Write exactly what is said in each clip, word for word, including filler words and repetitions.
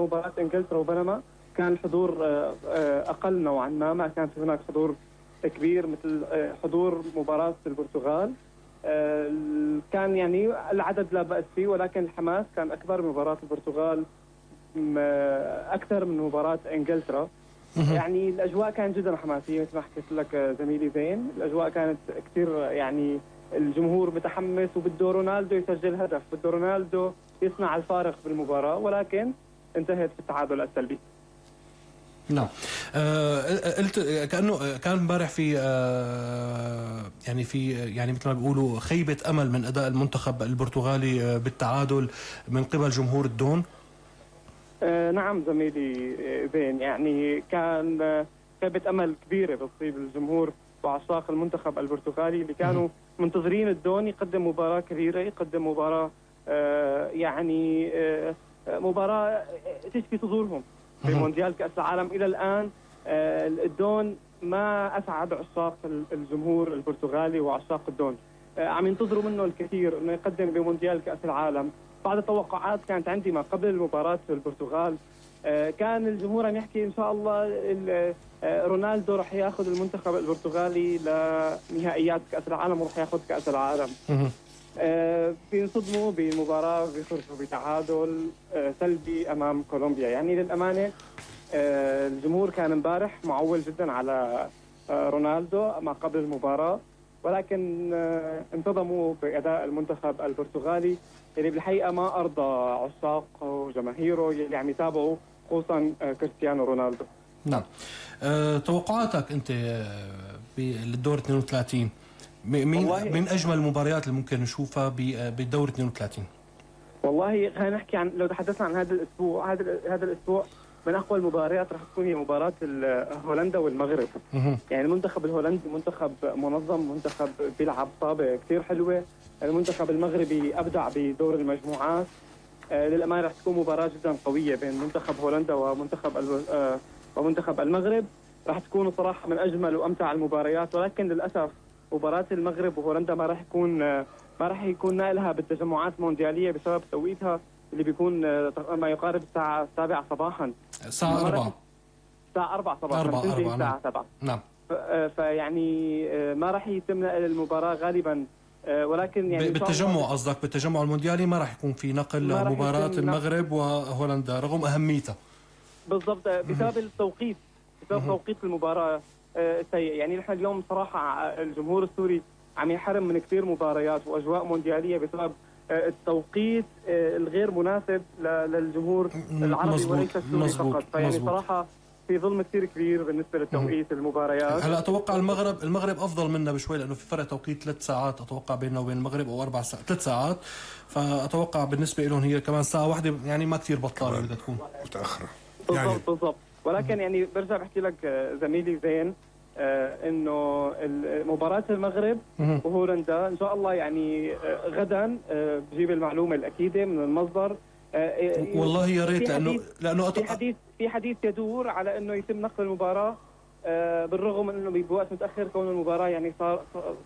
مباراة انجلترا وبنما كان الحضور اقل نوعا ما، ما كان في هناك حضور كبير مثل حضور مباراة البرتغال. كان يعني العدد لا بأس فيه، ولكن الحماس كان اكبر من مباراة البرتغال اكثر من مباراة انجلترا. يعني الاجواء كانت جدا حماسيه مثل ما حكيت لك زميلي زين، الاجواء كانت كثير يعني الجمهور متحمس وبده رونالدو يسجل هدف، بده رونالدو يصنع الفارق بالمباراه، ولكن انتهت في التعادل السلبي. نعم. آه قلت كانه كان امبارح في آه يعني في يعني مثل ما بيقولوا خيبه امل من اداء المنتخب البرتغالي بالتعادل من قبل جمهور الدون. آه نعم زميلي زين، يعني كان خيبه امل كبيره بتصيب الجمهور وعشاق المنتخب البرتغالي اللي كانوا منتظرين الدون يقدم مباراه كبيره، يقدم مباراه آه يعني آه مباراه تشفي صدورهم في مونديال كأس العالم. إلى الآن الدون ما أسعد عشاق الجمهور البرتغالي وعشاق الدون، عم ينتظروا منه الكثير إنه يقدم بمونديال كأس العالم. بعض التوقعات كانت عندي ما قبل المباراة في البرتغال، كان الجمهور عم يحكي إن شاء الله رونالدو رح ياخذ المنتخب البرتغالي لنهائيات كأس العالم ورح ياخذ كأس العالم. آه بينصدموا بالمباراة، بيخرجوا بتعادل آه سلبي أمام كولومبيا. يعني للأمانة آه الجمهور كان امبارح معول جدا على آه رونالدو ما قبل المباراة، ولكن آه انتظموا بأداء المنتخب البرتغالي اللي بالحقيقة ما أرضى عشاقه وجماهيره اللي عم يتابعوا، خصوصا آه كريستيانو رونالدو. نعم. أه توقعاتك أنت للدور اثنين وثلاثين، مين من اجمل المباريات اللي ممكن نشوفها بالدور اثنين وثلاثين؟ والله خلينا نحكي عن، لو تحدثنا عن هذا الاسبوع، هذا هذا الاسبوع من اقوى المباريات راح تكون هي مباراه هولندا والمغرب. يعني المنتخب الهولندي منتخب منظم، منتخب بيلعب طابه كثير حلوه. المنتخب المغربي ابدع بدور المجموعات. آه للامانه راح تكون مباراه جدا قويه بين منتخب هولندا ومنتخب آه ومنتخب المغرب. راح تكون صراحه من اجمل وامتع المباريات، ولكن للاسف مباراة المغرب وهولندا ما راح يكون ما راح يكون نائلها بالتجمعات المونديالية بسبب توقيتها اللي بيكون ما يقارب الساعة السابعة صباحا. الساعة أربعة. الساعة أربعة صباحا. أربعة أربعة الساعة سبعة. نعم. فيعني ما راح يتم نقل المباراة غالبا، ولكن يعني بالتجمع قصدك، بالتجمع المونديالي ما راح يكون في نقل مباراة المغرب وهولندا رغم أهميتها. بالضبط، بسبب التوقيت، بسبب توقيت المباراة سيء. يعني نحن اليوم صراحة الجمهور السوري عم يحرم من كثير مباريات وأجواء مونديالية بسبب التوقيت الغير مناسب للجمهور العربي وليس السوري فقط. فيعني مزبوط. صراحة في ظلم كثير كبير بالنسبة للتوقيت المباريات. هلا أتوقع المغرب المغرب أفضل منا بشوي لأنه في فرق توقيت ثلاث ساعات أتوقع بيننا وبين المغرب، أو أربع ساعات ثلاث ساعات، فأتوقع بالنسبة لهم هي كمان ساعة واحدة، يعني ما كثير بطالة بدها تكون متأخرة. بالضبط يعني بالضبط. ولكن يعني برجع بحكي لك زميلي زين آه انه مباراة المغرب وهولندا ان شاء الله يعني آه غدا آه بجيب المعلومة الأكيدة من المصدر. آه والله يا ريت، لأنه لأنه في حديث في حديث يدور على انه يتم نقل المباراة آه بالرغم من انه بوقت متأخر، كون المباراة يعني صار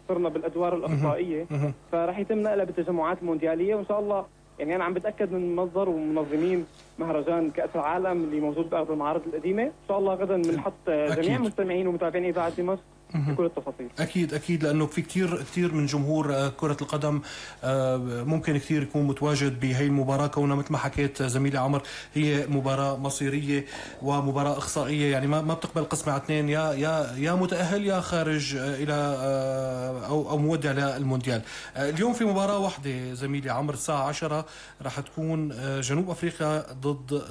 صرنا بالأدوار الإقصائية، فراح يتم نقلها بالتجمعات المونديالية. وان شاء الله يعني انا عم بتاكد من مصدر ومنظمين مهرجان كاس العالم اللي موجود بأرض المعارض القديمه، ان شاء الله غدا بنحط جميع مستمعين ومتابعين اذاعه دمشق بكل التفاصيل. اكيد اكيد، لانه في كثير كثير من جمهور كره القدم ممكن كثير يكون متواجد بهي المباراه، كونها مثل ما حكيت زميلي عمر هي مباراه مصيريه ومباراه اقصائيه، يعني ما ما بتقبل قسمه على اثنين، يا يا يا متاهل يا خارج الى او او مودع للمونديال. اليوم في مباراه واحده زميلي عمر الساعه عشرة راح تكون جنوب افريقيا ضد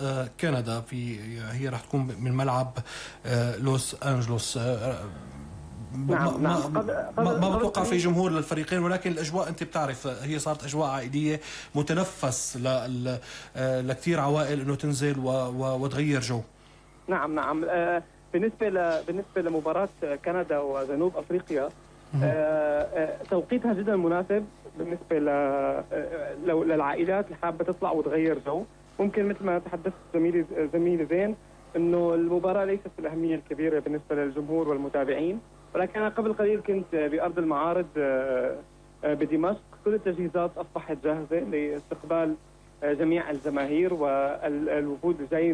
كندا، في هي راح تكون من ملعب لوس انجلوس. نعم ما نعم. ما, ما بتوقع في جمهور للفريقين، ولكن الاجواء انت بتعرف هي صارت اجواء عائليه متنفس لكثير عوائل انه تنزل وتغير جو. نعم نعم. آه بالنسبه ل... بالنسبه لمباراه كندا وجنوب افريقيا آه توقيتها جدا مناسب بالنسبه ل... لو للعائلات اللي حابه تطلع وتغير جو. ممكن مثل ما تحدثت زميلي زميلي زين انه المباراه ليست بالاهميه الكبيره بالنسبه للجمهور والمتابعين، ولكن أنا قبل قليل كنت بأرض المعارض بدمشق. كل التجهيزات أصبحت جاهزة لاستقبال جميع الجماهير والوفود الجايين